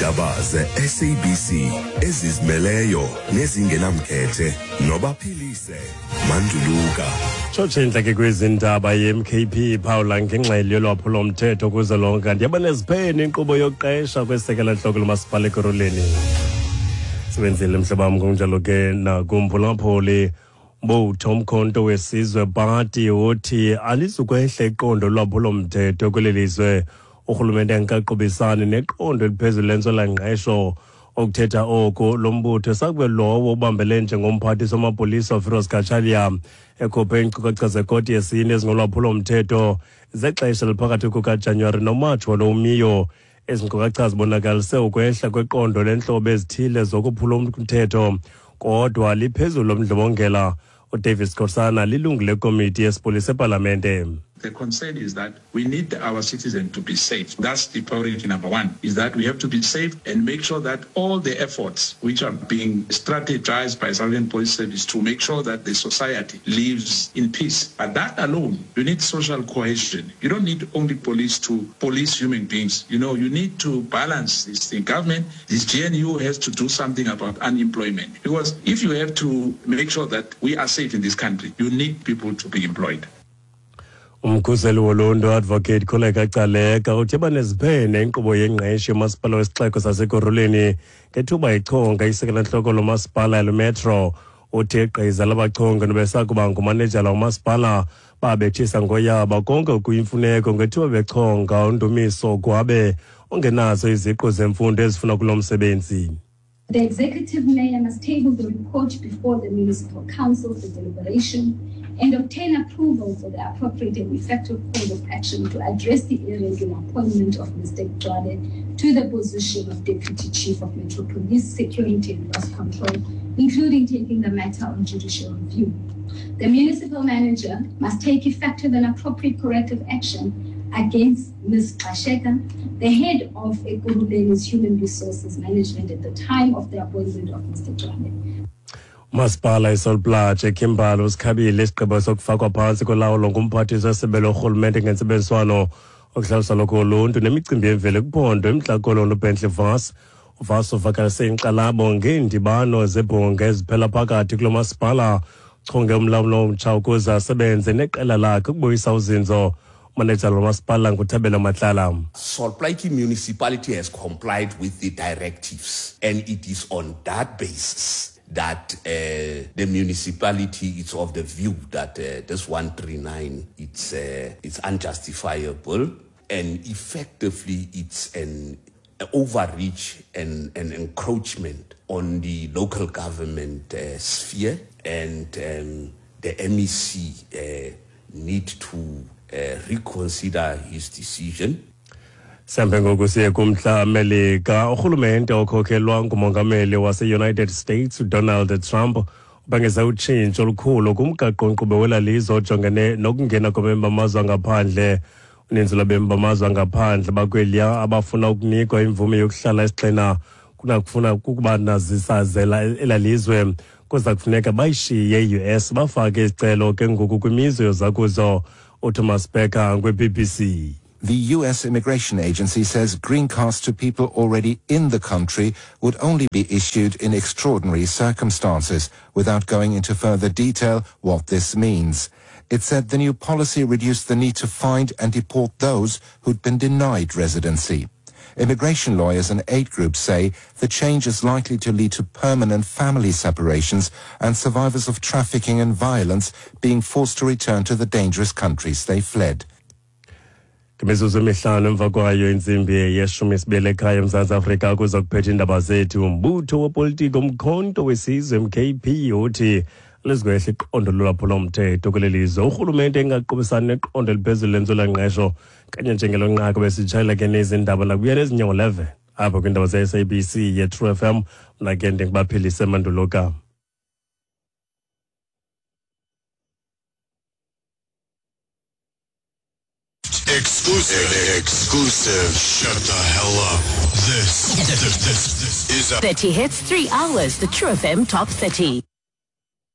Iindaba ze-SABC ezizimeleyo nezingenamkhethe nobaphilise Manduluka. Tshotshe intleke kwezi ndaba ye-MKP iphawula ngengxelo yolwaphulomthetho kuzwelonke kanti yaba neziphene inkqubo yokuqesha kwesekela ntloko lomasipala ekuruleni. Sebenzile mhlobo wam ngokunjalo ke nakumphulaphuli. Mbutho Umkhonto weSizwe Party uthi alizukwehla iqondo lolwaphulomthetho kweli lizwe. Urhulumente angikaqubisani neqondo eliphezulu lentswelangqesho. Okuthetha oku lo mbutho sakube lowo ubambele njengomphathiswa wamapolisa uFiroz Cachalia ekhuphe iinkcukacha zekoti yesine ezingolwaphulomthetho zexesha eliphakathi kukaJanuwari noMatshi walo umiyo. Ezi nkcukacha zibonakalise ukwehla kweqondo lentlobo ezithile zokuphula umthetho kodwa liphezulu lomdlobongela. UDavis Skhosana lilungu lekomiti yesipolisa epalamente. The concern is that we need our citizens to be safe. That's the priority number one, is that we have to be safe and make sure that all the efforts which are being strategized by South African Police Service to make sure that the society lives in peace. But that alone, you need social cohesion. You don't need only police to police human beings. You know, you need to balance this thing. Government, this GNU has to do something about unemployment. Because if you have to make sure that we are safe in this country, you need people to be employed. Umkhuseli woluntu Advocate Kholeka Gcaleka uthe baneziphene inkqubo yengqesho yomasipala wesixeko sasekurhuleni ngethuba ichonga isekela-ntloko lomasipala elumetro. Uthi igqiza labachongi nobesakuba ngumanejala womasipala babethisa ngoyaba konke okuyimfuneko ngethuba bechonga uNdumiso Gwabe ongenazo iziqu zemfundo ezifuna kulo msebenzi. The executive mayor must table the report before the municipal council for deliberation and obtain approval for the appropriate and effective course of action to address the irregular appointment of Mr. Gcwabe to the position of Deputy Chief of Metro Police Security and Loss Control, including taking the matter on judicial review. The municipal manager must take effective and appropriate corrective action against Ms. Gxasheka, the head of Ekurhuleni's Human Resources Management at the time of the appointment of Mr. Gcwabe. Umasipala iSol Plaatje eKimberley usikhabile isigqibo sokufakwa phantsi kolawulo ngumphathiswa wesebe lorhulumente ngentsebenziswano okuhlaliswa lokho uluntu nemicimbi yemveli kwiphondo eMntla Koloni uBentley Vos. UVos uvakalise inkxalabo ngeendibano zebhunga eziphela phakathi kulo masipala. Uchonge umlawuli omtsha ukuze asebenze neqela lakhe ukubuyisa uzinzo. Umanejala womasipala nguThabelo Matlala. Sol Plaatje Municipality has complied with the directives, and it is on that basis that the municipality is of the view that this 139 it's unjustifiable, and effectively it's an overreach and an encroachment on the local government sphere, and the MEC need to reconsider his decision. Sihambe ngoku siye kumntla Melika. Urhulumente okhokhelwa ngumongameli wase-United States uDonald Trump ubhengeze utshintsho olukhulu kumgaqo-nkqubo wela lizwe ojongene nokungena kwabemi bamazwe angaphandle. Uninzi lwabemi bamazwe angaphandle bakweliya abafuna ukunikwa imvume yokuhlala esigxina kunakufuna kukuba nazisazela ela lizwe kuza kufuneka bayishiye i-US bafake izicelo ke ngoku kwimizwe yozakuzo. uThomas Becker kwi-BBC. The US Immigration Agency says green cards to people already in the country would only be issued in extraordinary circumstances, without going into further detail what this means. It said the new policy reduced the need to find and deport those who'd been denied residency. Immigration lawyers and aid groups say the change is likely to lead to permanent family separations and survivors of trafficking and violence being forced to return to the dangerous countries they fled. Imizuzu emihlanu emva kwayo intsimbi yeshumi sibili ekhaya eMzantsi Afrika kuza kuphetha iindaba zethu. Umbutho wopolitiko Umkhonto weSizwe MKP uthi lizokwehla iqondo lolwaphulomthetho kweli lizwe. Urhulumente engaqubisani neqondo eliphezulu lentswelangqesho kanye njengelo nqaku besitshayela ke nezi ndaba nakubuya nezinyango 11 apha kwiindaba ze-SABC ye-True FM. Mna ke ndingubaphilise Manduluka. Exclusive. Exclusive. Shut the hell up. This is a 30 hits, 3 hours. The True FM Top 30.